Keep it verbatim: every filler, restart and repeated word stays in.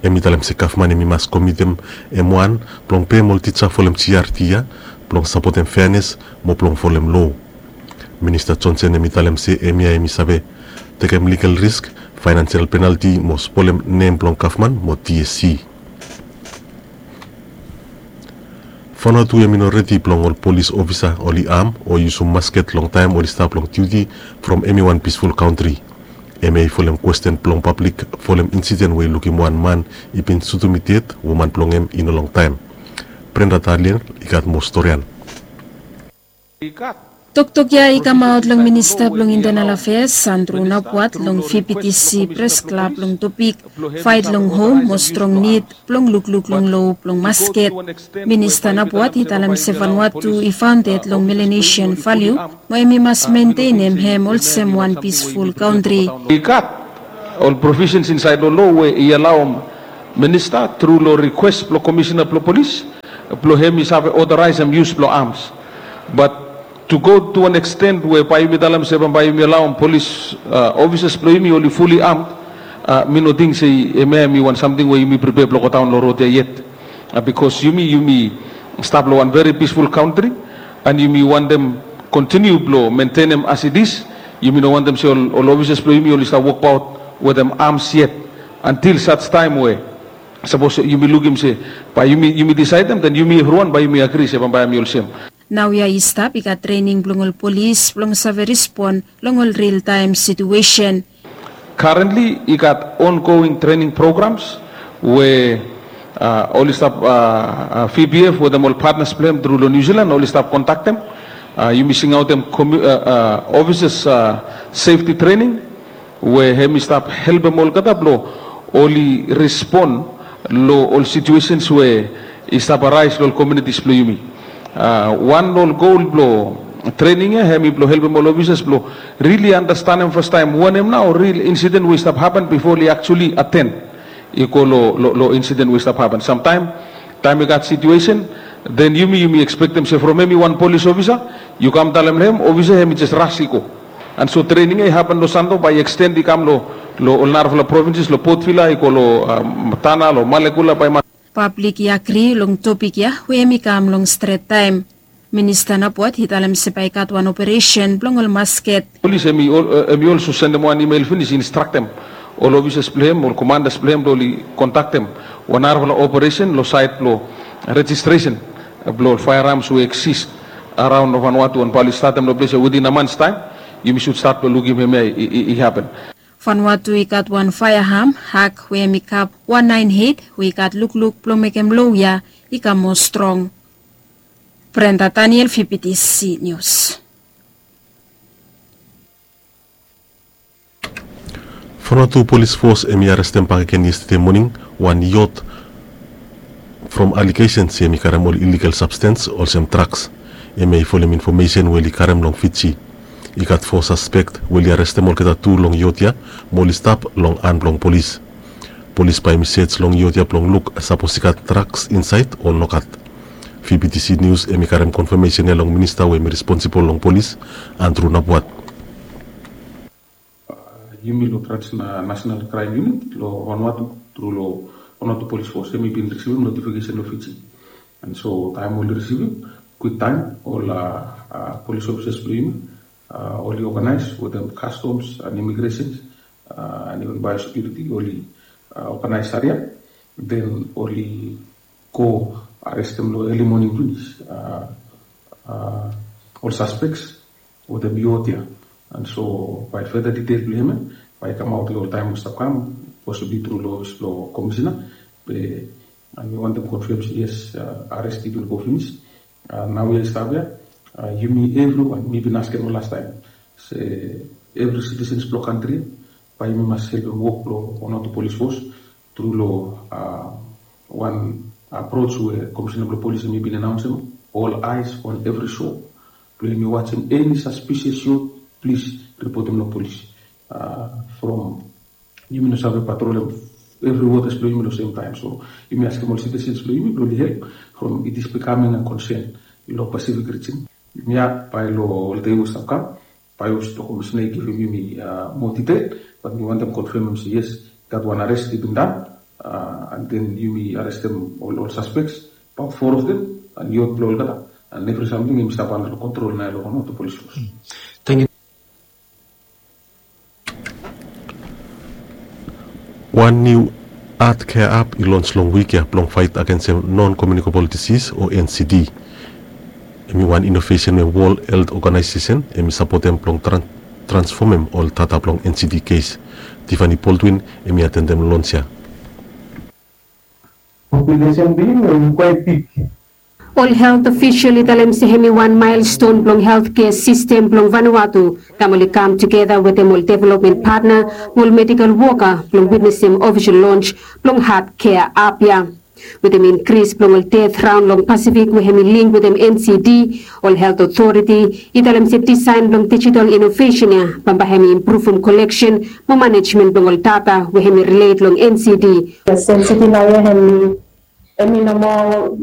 Em i talem se gavman em i mas komitem em wan blong pem ol tija folem GRT ya blong sapotem feanes mo blong folem lo. Minista Johnson em i talem se em ya em i save tekem ligal risk, fainansial penalti mo spolem nem blong gavman mo TSC. Vanuatu em i no redi blong ol polis ofisa oli am o yusum masket long taem oli stap long diuti from eni wan pisful kantri. Em ya i folem kwesten blong pablik folem insiden we i lukim wan man i bin sutum i ded woman blong em i no longtaem. Brenda Daniel i gat moa storian. Toktok ya i kamaot long Minista blong Internal Affairs Andrew Napuat long VPTC pres klab long topik faet long hom mo strong nid blong lukluk long lo blong masket. Minista Napuat i talem se Vanuatu i faonded long Melanesian valiu mo em i mas mentenem hem olsem wan pisful kantri. I gat ol provisens insaed long lo we i alaoem minista tru long rikwes blong komisina blong polis blong hem i save otoraesem yus blong ams. Bat to go to an eksten we bae yumi talem se bambae yumi alaoem polis ofisas blong yumi oli fuli amd, mi no ting se hemia hem i wan samting we yumi pripea blong godaon long rod ya yet. Bikos yumi yumi stap long wan veri pisful kantri an yumi wantem kontiniu blong mentenem as it is. Yumi no wantem se ol ofisas blong yumi oli stap wokbaot wetem ams yet antil saj taem we sapos yumi lukim se bae yumi disaedem den yumi evriwan bae yumi agri se bambae hem i olsem. Naoia i stap i gat trening blong ol polis blong save respon long ol riltaem situesen. Karentli i gat ongoing trening programs we oli stap VPF wetem ol patnas blong hem tru long Niu Silan oli stap kontaktem. Yumi singaotem ofisas sefti trening we hem i stap helpem olgeta blong oli respon long ol situesens we i stap araes long ol komunitis blong yumi. Wan long ol gol blong trening ya hem i blong helpem ol ofisas blong rili andastanem fastaem wanem nao ril insiden we i stap hapen bifo oli aktuali aten i go long insiden we i stap hapen samtaem. Taem i gat situesen den yumi yumi ekspektem se from hem i wan polis ofisa yu kam talem long hem ofisa hem i jes ras i go. An so trening ya i hapen long Santo bae i eksten i kam long ol narafala provinses long Port Vila i go long Tana long Malekula bae i mas. Pablik i agri long topik ya we hem i kam long stret taem. Minista Napuat i talem se bae i gat wan operesen blong ol masket. Polis hem i olso sendem wan imel finis i instraktem ol ofisas blong hem ol komandas blong hem blong oli kontaktem wan narafala operesen long saed blong rejistresen blong ol faearams we eksis araon long Vanuatu an bae oli statem long ples ya witin a mans taem yumi sud stat blong lukim hemia i hapen. Vanuatu i gat wan faeaam hak we hem i kap wan naen eit we i gat lukluk blong mekem lo ya i kam moa strong. Brenda Daniel, VPTC Nius. Vanuatu Polis Fos hem i arestem bakegen yestede moning wan yot from alegesen se hem i karem ol iligal sabstens olsem draks. Hemia i folem infomesen we oli karem long Fiji. I gat fo saspek we oli arestem olgeta tu long yot ya mo oli stap long han blong polis. Polis bae hem i sej long yot ya blong luk sapos i gat draks insaed o nogat. VPTC Nius hem i karem konfamesen ya long minista we hem i responsibol long polis, Andrew Napuat. Yumi long transnational kraem yunit long Vanuatu tru long Vanuatu Polis Fos hem i bin risivim notifikesen long Fiji. An so taem oli risivim kwiktaem ol polis ofisas blong yumi oli oganaes wetem kastoms an imigresen an iven baeosekiuriti oli oganaes aria den oli go arestem long eli moning finis ol saspeks wetem yot ya. An so bae feda ditel blong hem ya bae i kamaot long ol taem we stap kam posibli tru long ofis blong komisina. Be mi wantem konfem se yes, ares i bin go finis. Naoia i stap ya yumi evriwan mi bin askem long lastaem se evri sitisens blong kantri ya bae yumi mas helpem wok blong Vanuatu Polis Fos tru long wan apros we komisina blong polis hem i bin anaonsem ol aes on evri so blong yumi wajem eni saspisias yot plis ripotem long polis. From yumi no save patrolem evri wotas blong yumi long semtaem so yumi askem ol sitisens blong yumi blong oli help from it is bikaming a konsen long Pasifik rijin. Yumi ya bae long ol dei we stap kam bae i hos blong komisina i givim yumi moa ditel bat mi wantem konfemem se yes, gat wan arrest i bin done, and then yumi arrestem ol suspects, about four of them, and youth blong olgeta, and evri samting yumi stap under control nao long ol polis force. Thank you. Wan niu heart care app i lons long wik ya blong fait agensem non komiunikabol disis o N C D. Em i wan inovesen we World Health Organization em i sapotem blong transfomem ol data blong N C D kes. Tiffany Baldwin em i atendem lons ya. Populesen blong yumi em i kwait bik. Ol helt ofisol i talem se hem i wan maelston blong heltkea sistem blong Vanuatu taem oli kam tugeta wetem ol developmen patna mo ol medikal woka blong witnesem ofisol lons blong heart care app ya. Wetem inkris blong ol ded raon long Pasifik we hem i link wetem N C D, ol helt otoriti i talem se disaen blong dijital inovesen ya bambae hem i impruvum koleksen mo manejmen blong ol data we hem i rilet long N C D. Yes, N C D naoia hem i, hem i nomo